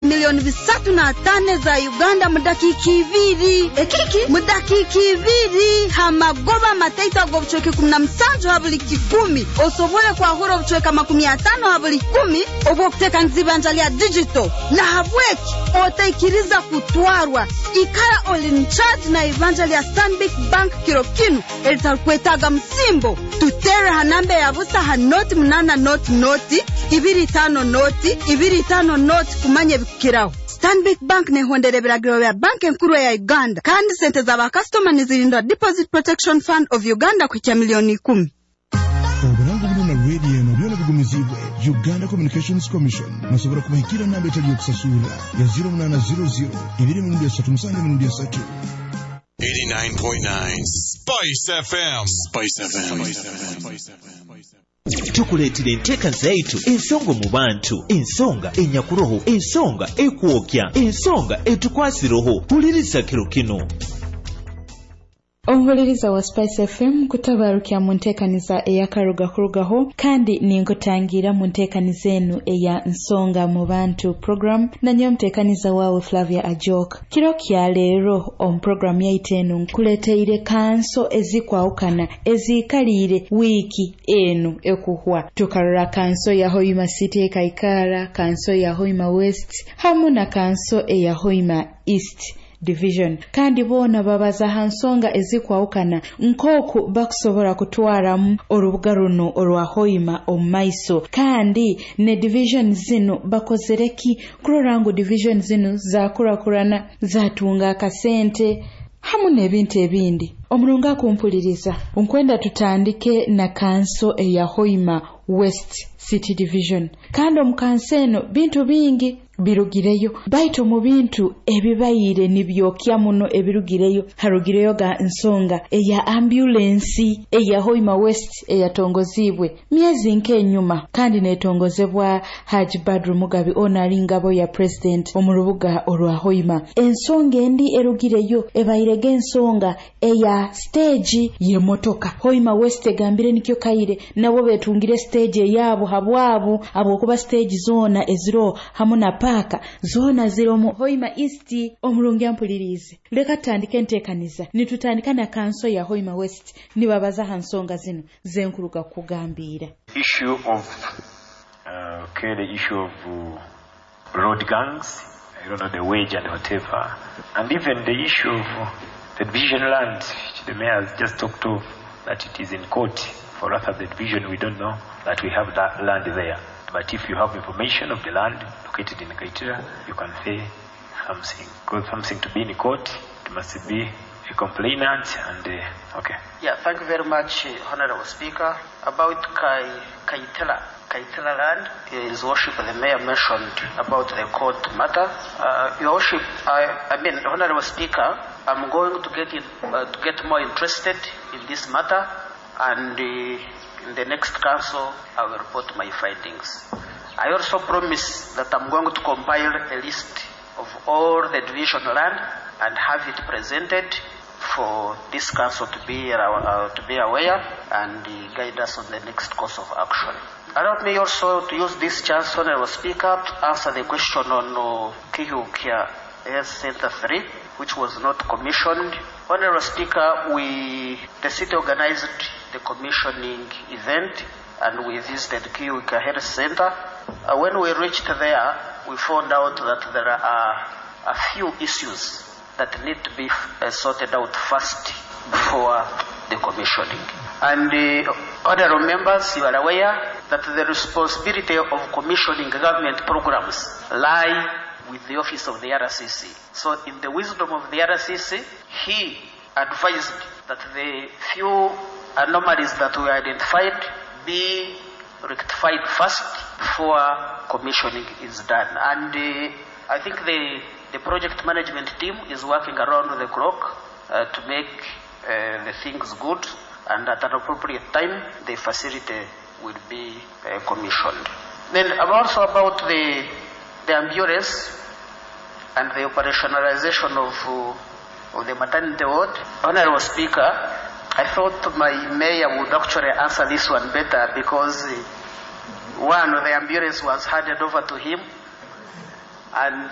305 miliyoni za Uganda mu dakiika 2. Ekiki? Mu dakiika 2, hamagoba mataito ag'obucweka 17 ha buli 100, osobole kwahura obucweka 50 ha buli 100 obw'okuteekaniza ibanja lya digital. Nahabweki otaikiriza kutwarwa. Ikara oli in charge na ibanja lya Stanbic Bank kiro kinu eritarukwetaaga musimbo. Tutere ha namba ya busa ha 080025025 kumanya ebikukiraho. Stanbic Bank nehondera ebiragiro bya Banka Enkuru ya Uganda, kandi sente z'abakasitoma nizirindwa Deposit Protection Fund of Uganda kuhikya miliyoni 10. Oburango buno na rediyo eno byona bigumizibwe Uganda Communications Commission. Musobola kubahikira namba etali yokusasura ya 0800 237 3. 89.9 Spice FM. Spice FM. Tukuleetera enteeka zaitu, ensonga mu bantu, ensonga enyakuroho, ensonga ekwokya, ensonga etukwasiroho. Huliriza kiro kino. Omuhuliriza wa Spice FM, kutabarukya mu nteekaniza eyakaruga kurugaho, kandi ninkutangira mu nteekaniza enu eya Nsonga mu Bantu program, nanyo omuteekaniza waawe Flavia Ajok. Kiro kya leero omu programu yaitu enu nkuleteire kanso ezikwawukana eziikaliire wiiki enu ekuhwa. Tukarora kanso ya Hoima City ekaikara, kanso ya Hoima West hamu na kanso eya Hoima East Division, kandi boona babaza ha nsonga ezikwawukana nk'oku bakusobora kutwaramu orubuga runo orwa Hoima omu maiso, kandi ne division zinu bakozere ki kurora ngu division zinu zakurakurana, zatunga akasente hamu n'ebintu ebindi. Omurungi akumpuliriza, nkwenda tutandike na kanso eya Hoima West City Division. Kandi omu kanso eno bintu bingi birugireyo, baitu mu bintu ebibaire nibyokya muno ebirugireyo, harugireyo ga nsonga eya ambulensi eya Hoima West eyatongozibwe myezi nk'enyuma, kandi netongozebwa Haji Badru Mugabi, ono ali ngabo ya president omu rubuga orwa Hoima. Ensonga endi erugireyo ebairega ensonga eya stage y'emotoka. Hoima West egambire nikyo kaire nabo betungire stage eyabo habwabo, habwokuba stage zoona eziro hamu na paaka zoona ziromu Hoima East. Omurungi ampulirize, leka tutandike enteekaniza nitutandika na kanso ya Hoima West, nibabaza ha nsonga zino zenkuruga kukugambiira. Issue of okay, the issue of road gangs, I don't know, the wage and whatever, and even the issue of the division land, which the mayor has just talked of, that it is in court. For us at the division, we don't know that we have that land there. But if you have information of the land located in Kaitira, you can say something. Because something to be in court, it must be a complainant and, okay. Yeah, thank you very much, Honorable Speaker. About Kaitela, Kaitela land, His Worship the Mayor mentioned about the court matter. Your Worship, I mean, Honorable Speaker, I'm going to get more interested in this matter, and in the next council, I will report my findings. I also promise that I'm going to compile a list of all the division land and have it presented for this council to be aware and guide us on the next course of action. Allow me also to use this chance, Honorable Speaker, to answer the question on Kihukia Health Center 3, which was not commissioned. Honorable Speaker, the city organized the commissioning event and we visited Kihukia Health Center. When we reached there, we found out that there are a few issues that need to be sorted out first before the commissioning. And honorable members, you are aware that the responsibility of commissioning government programs lie with the office of the RCC. So in the wisdom of the RCC, he advised that the few anomalies that were identified be rectified first before commissioning is done. And I think the project management team is working around the clock to make the things good, and at an appropriate time, the facility will be commissioned. Then also about the ambulance and the operationalization of the maternity ward. Honorable Speaker, I thought my mayor would actually answer this one better because one, the ambulance was handed over to him, and